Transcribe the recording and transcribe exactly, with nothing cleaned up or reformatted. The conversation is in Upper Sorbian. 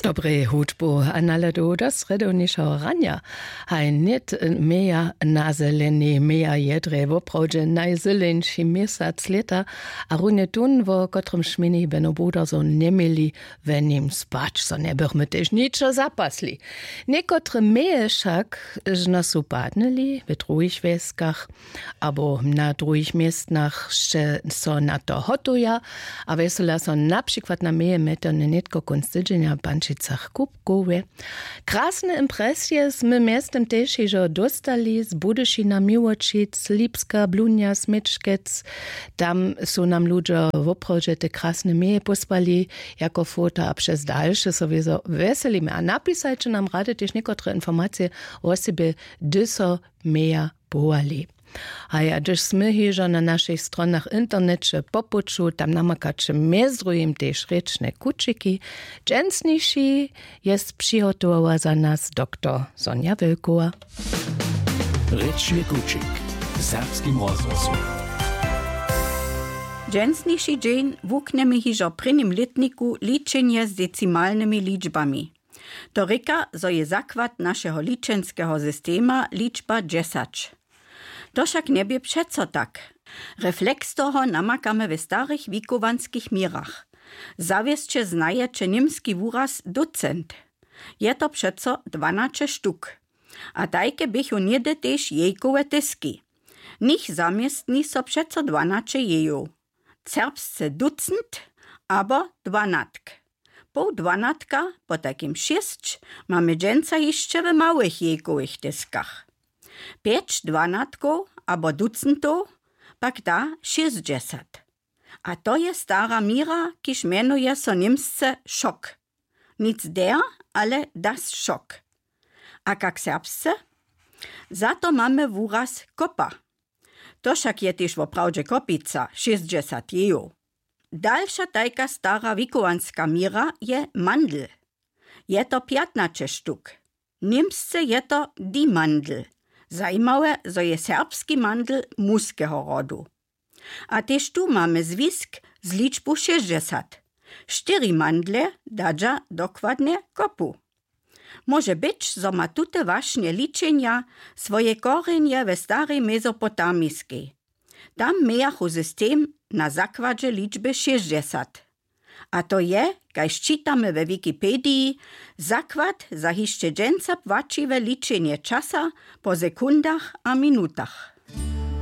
Dobrej hudbu a naladu do srjedownišeho ranja. Haj nět, meja na zelenej, meja jedrej, woprawdźe najzeleńši měsac lěta. A runje tón, wo kotrymž měni beno buda so njeměli, we nim spać so njebychmy tež ničo zapasli. Někotre meje wšak žno su padnyli w druhich wjeskach abo na druhich městnach sće so na to hotuja. A wjesela so na přikład na meje mjetony nětko kónc tydźenja w pančicach kubkowje. Krasne impresije smy mjeztym tež hižo dóstali z budyšina, miłočic, lipska, blunja, směčkec. Tam su nam ludźo woprawdźe te krasne meje pósłali jako fota a přez dalše sowězo wjeselimy a napisajće nam rady tež někotre informacije wosebje, hdy so meja połali. A ja hdyž smy hižo na našich stronach w interneće po puću, tam namakaće mjez druhim tež rěčne kućiki. Dźensniši je přihotowała za nas doktor Sonja Wilkowa. Rěčny kućik w serbskim rozhłosu. Dźensniši dźeń wuknjemy hižo w prěnim lětniku ličenje z decimalnymi ličbami. To rěka, zo je zakład našeho ličenskeho systema ličba dźesać. To wšak njebě přeco tak. Refleks toho namakamy w starych wikowanskich měrach. Zawěsće znajeće němski wuraz ducent. Je to přeco dwanaće štuk. A tajke běchu něhdy tež jejkowe tyski. Nich zaměstni so přeco dwanaće jejow. Serbsce ducent abo dwanatk. Poł dwanatka, potajkim šěsć, mamy dźensa hišće w małych jejkowych tyskach. Pjeć dwanatkow abo ducentow pak da šěsćdźesat. A to je stara měra, kiž mjenuje so němsce šok. Nic der, ale das šok. A kak serbsce? Za to mamy wuraz kopa. To wšak je tež woprawdźe kopica, šěsćdźesat jejow. Dalša tajka stara wikowanska měra je mandl. Je to pjatnaće štuk. Němsce je to die Mandel. Zajimawe, zo je serbski mandl muskeho rodu. A tež tu mamy zwisk z ličbu šěsćdźesat. Štyri mandle dadźa dokładnje kopu. Móže być, zo ma tute wašnje ličenja swoje korjenje we starej Mezopotamiskej. Tam mějachu system na zakładźe ličby šěsćdźesat. A to je, kaž čitamy we Wikipediji, zakład za hišće dźensa płaćiwe ličenje časa po sekundach a minutach.